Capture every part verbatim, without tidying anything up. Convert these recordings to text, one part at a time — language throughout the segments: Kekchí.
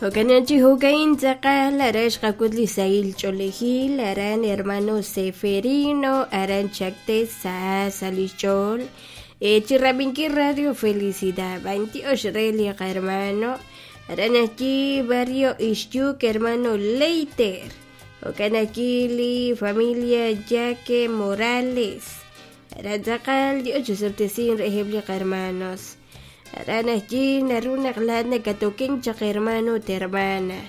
Jo'kan chi jo'ka'in tz'aqal aran xqak'ut li sahil ch'oolejil aran hermano Seferino aran Chacté sa sa' li xch'ool chi rab'inkil Radio Felicidad b'antiox re li qahermano aran ajwi' barrio Ixyuc hermano Leiter jo'kan ajwi' li familia Yaque Morales aran tz'aqal Dios chisob'tesin reheb' li qahermanos aran ajwi' naru naq laa'at nakatoken chaq hermano ut hermana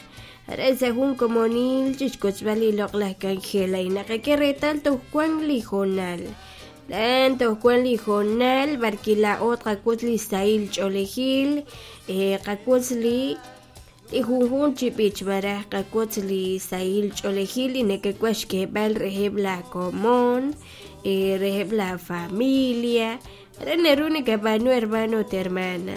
aran sa' jun komonil chixkotzb'al li loq'laj k'anjel naqak'e reetal toj wan li hoonal lan toj wan li hoonal b'arki laa'o tqak'ut li sahil ch'oolejil qak'ut li li junjun chi b'ich malaj qak'ut li sahil ch'oolejil li nakawaj xk'eeb'al reheb' la komon reheb' la familia aran naru nakab'aanu hermano ut hermana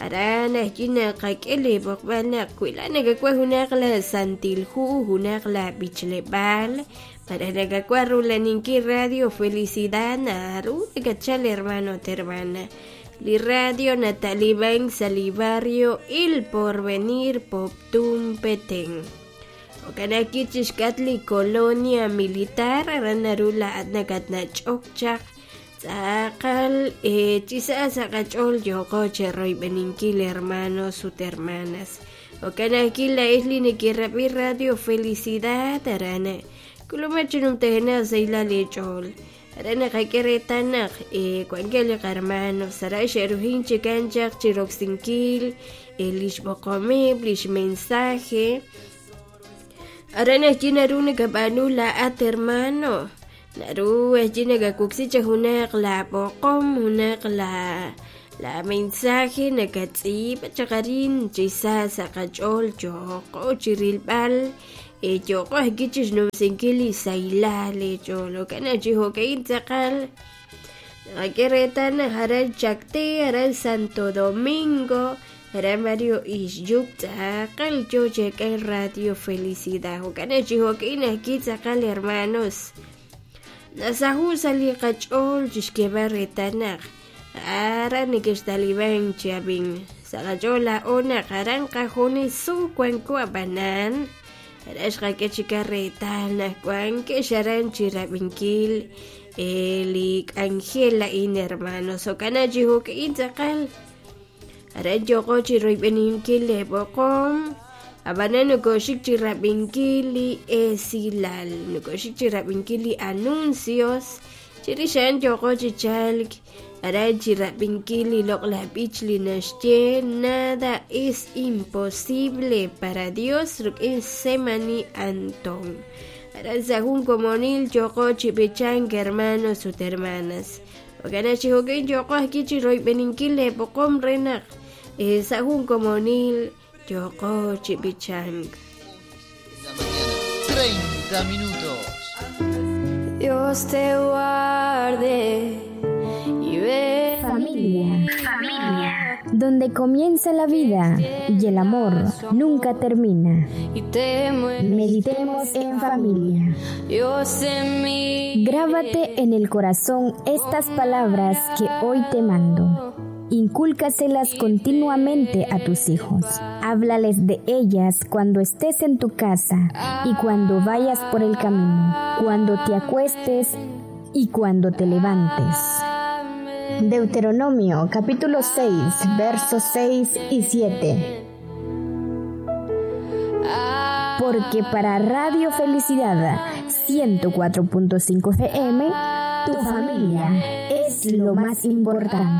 aran ajwi' naqak'e li b'oqb'al naq wi laa'at nakawaj junaq la santil hu junaq la b'ichleb'aal malaj nakawaj rulaninkil Radio Felicidad naru nakatchal hermano ut hermana li radio nata'liman sa' li barrio El Porvenir Poptún Petén jo'kan ajwi' chixk'atq li colonia militar aran naru laa'at nakatnach'ok chaq tz'aqal chi sa' sa' qach'ool yooqo chiroyb'eninkil hermanos ut hermanas jo'kan ajwi' laa'ex li nekerab'i Radio Felicidad aran k'ulumak chi numtajenaq sahilal eech'ool aran naqak'e reetal naq wankeb' li qahermanos aran xe'rujin chikan chaq chiroksinkil li xb'oqomeb' li xmensaje aran ajwi' naru nakab'aanu laa'at hermano naru ajwi' nakawoksi chaq junaq la b'oqom junaq la la mensaje nakatz'iib' chaq arin chi sa' sa' qach'ool yooqo chirilb'al yooqo ajwi' chixnumsinkil li sahilal eech'ool jo'kan chi jo'ka'in tz'aqal naqak'e reetal naq aran Chacté aran Santo Domingo aran barrio Ixyuc tz'aqal yoo chek'al Radio Felicidad jo'kan chi jo'ka'in ajwi' tz'aqal hermanos nasahu sa' li qach'ool chixk'eeb'al reetal naq aran nekextaliban chi ab'in sa' qach'ool laa'o naq aran qajunes wanko ab'anan aran xqak'e chika reetal naq wankex aran chirab'inkil li k'anjel a'in hermanos jo'kan chi jo'ka'in tz'aqal aran yooqo chiroyb'eninkil li b'oqom ab'anan nokoxik chirab'inkil li esilal nokoxik chirab'inkil li anuncios chirix a'an yooqo chi chalk aran chirab'inkil li loq'laj b'ich li naxye nada es imposible para Dios rik'in Semani Antón aran sa' jun komonil yooqo chi b'ichank hermanos ut hermanas jo'kan chi jo'ka'in yooqo ajwi' chiroyb'eninkil li b'oqom re naq sa' jun komonil yooqo chi b'ichank. La mañana, treinta minutos. Dios te guarde y ve. Familia. Familia. Donde comienza la vida y el amor nunca termina. Y te Meditemos en familia. Dios en mí. Grábate en el corazón estas palabras que hoy te mando. Incúlcaselas continuamente a tus hijos. Háblales de ellas cuando estés en tu casa y cuando vayas por el camino, cuando te acuestes y cuando te levantes. Deuteronomio capítulo seis, versos seis y siete. Porque para Radio Felicidad ciento cuatro punto cinco F M, tu familia es lo más importante.